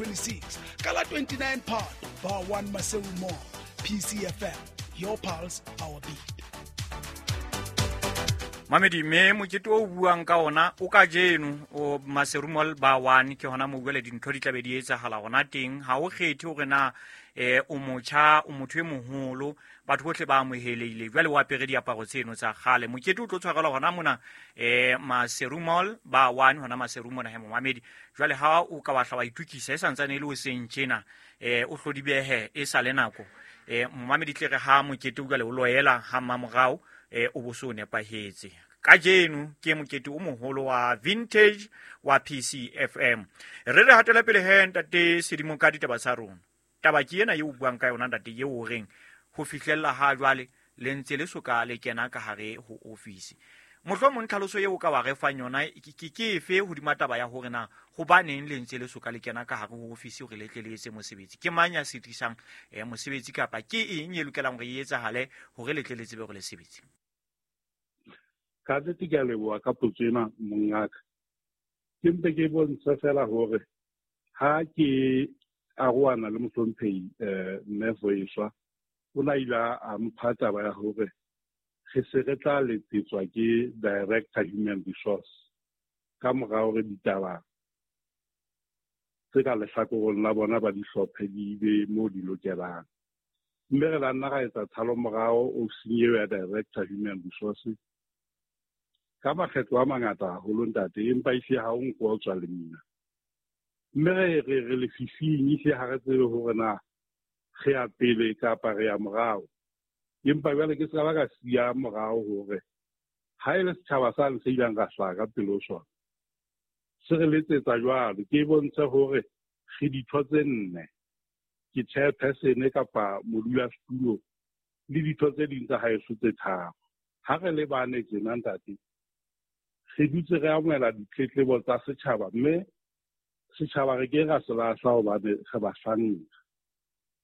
2026 ka la 29 Phato, Bar 1 Maseru Mall. PCFM, your pulse, our beat. Mamedi, mme mokete o buang ka ona o ka jeno o Maseru Mall Bar 1, ke hona mo jwale dintho di tlabe di etsahala hona teng. Ha o kgethe hore na o motjha, o motho e moholo, batho bohle ba amohelehile. Jwale o apere diaparo tseno tsa kgale. Mokete o tlo tshwarelwa hona mona Maseru Mall Bar 1, hona Maseru mona he momamedi. Jwale ha o ka wa hla wa itukisa e santsane e le hoseng tjena, o hlodibehe e sa le nako. Momamedi tle re ha mokete o jwale o loela ha mmamorao, o bo so nepahetse. Kajeno ke mokete o moholo wa vintage wa PCFM. Re re hatela pele he ntate Sedimo ka ditaba tsa rona. Taba ke ena eo o buang ka yona ntate, eo o reng ho fihlella ha jwale le ntse le soka le kena ka hare ho ofisi. Mohlomong tlhaloso eo o ka wa re fang yona ke efe hodima taba ya hore na hobaneng le ntse le soka le kena ka hare ho ofisi hore le tle le etse mosebetsi? Ke mang ya sitisang mosebetsi, kapa ke eng e lokelang hore e etsahale hore le tle le tsebe hore le sebetse? Ka nnete ke a leboha ka potso ena, mongaka. Ke mpe ke bontshe fela hore ha ke arohana le mohlomphehi Mme Voiswa, o na ile a mpha taba ya hore re se re tla letsetswa ke Director Human Resource ka mora hore ditaba tse ka lehlakoreng la bona ba di hlophe di be mo di lokelang. Mme re la nna ra etsa tshalo morao ofising eo ya Director Human Resource ka makgetlo a mangata haholo ntate, empa ehlile ha o nko o tswa lemina. Mme re lefifing, ehlile ha re tsebe hore na re ya pele kapa re ya morao. Empa jwale ke se ka ba ka siya morao hore ha e le setjhaba sane se ileng ra hlaha ka pele ho sona, se re letsetsa jwalo. Ke bontshe hore re ditho tse nne, ke chairperson kapa modulasetulo le ditho tse ding tsa haeso tse tharo. Ha re le bane tjena ntate, re dutse re amohela ditletlebo tsa setjhaba, mme setjhaba re ke ra se lahla hobane re bahlanka.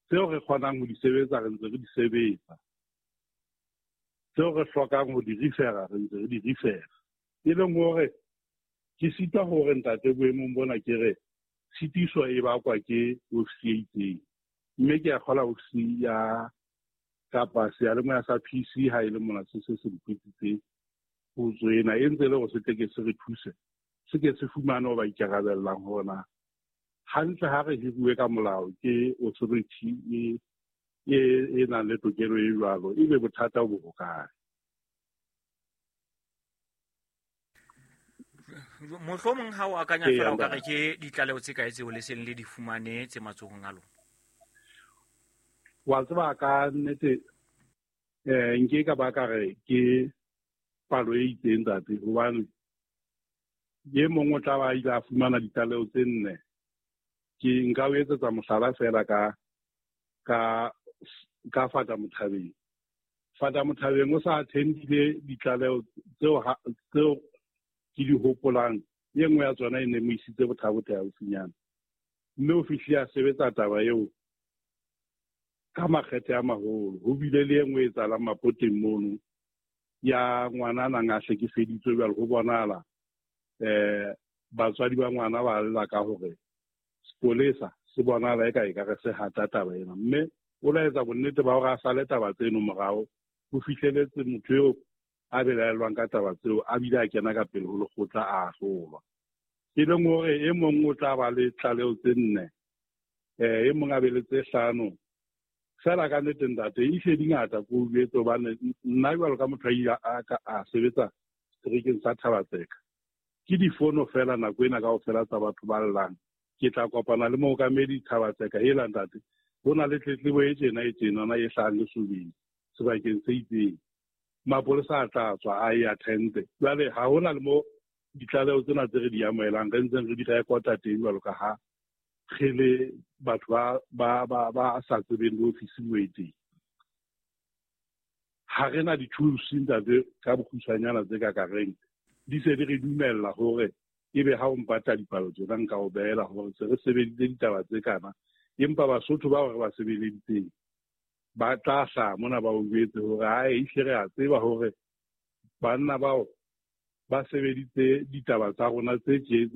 Tseo re kgonang ho di sebetsa re ntse re di sebetsa, tseo re hlokang ho di refera re ntse re di refera. E leng hore ke sitwa hore ntate boemong bona ke re tshitiso e bakwa ke ofisi e itseng, mme ke a kgola ofisi ya kapa seyalemoya sa PC ha e le mona se se se mpitsitse potso ena, e ntse e le hore se tle ke se re thuse, se ke se fumane ho ba ikarabellang hore na hantle ha re hiruwe ka molao ke authority e nang le tokelo e jwalo, ebe bothata bo hokae? Mohlomong ha o akanya Ee, fela o ka ntate. re ke ditlaleho tse kae tseo le seng le di fumane tse matsohong a lona? Wa tseba ka nnete, nke ka ba ka re ke palo e itseng ntate, hobane e mong o tla ba ile a fumana ditlaleho tse nne. Ke nka o etsetsa mohlala fela ka Fata Mothabeng. Fata Mothabeng o sa attendile ditlaleho tseo ke di hopolang, e nngwe ya tsona e ne mo isitse Botha-Bothe haufinyana, mme o fihlile a sebetsa taba eo ka makgethe a maholo. Ho bile le e nngwe e etsahalang Mapoteng mono ya ngwana a nang a hlekefeditswe jwale, ho bonahala batswadi ba ngwana ba lla ka hore sepolesa se bonahala eka e ka re se hata taba ena, mme o laetsa bonnete ba hore a sale taba tseno morao ho fihleletse motho eo a belaellwang ka taba tseo, a bile a kena ka pele ho lekgotla a ahlolwa. E leng hore e mong o tla ba le tlaleho tse nne, e mong a be le tse hlano. Fela ka nnete ntate, e hle di ngata ko o jwetse, hobane nna jwalo ka motho a ile a ka a sebetsa seterekeng sa Thaba-Tseka, ke difono fela nako ena kaofela tsa batho ba llang. Ke tla kopana le mookamedi Thaba-Tseka, hela ntate, ho na le tletlebo e tjena e tjenana e hlahang Lesobeng sebakeng se itseng. Mapolesa a tla tswa a e attend-e. Jwale ha hona le mo ditlaleho tsena tse re di amohelang re ntseng re di rekota teng jwalo ka ha re le batho ba sa tsebeng le ofisi moo e teng. Ha re na di-tools ntate ka bokgutshwanyana tse ka kareng di se di re dumella hore ebe ha o mpatla dipalo tsena nka o behela hore se re sebeditse ditaba tse kana, empa Basotho bao re ba sebeleditseng ba tla hlaha mona ba o jwetse hore ae, ehlile re a tseba hore banna bao ba sebeditse ditaba tsa rona tse tje.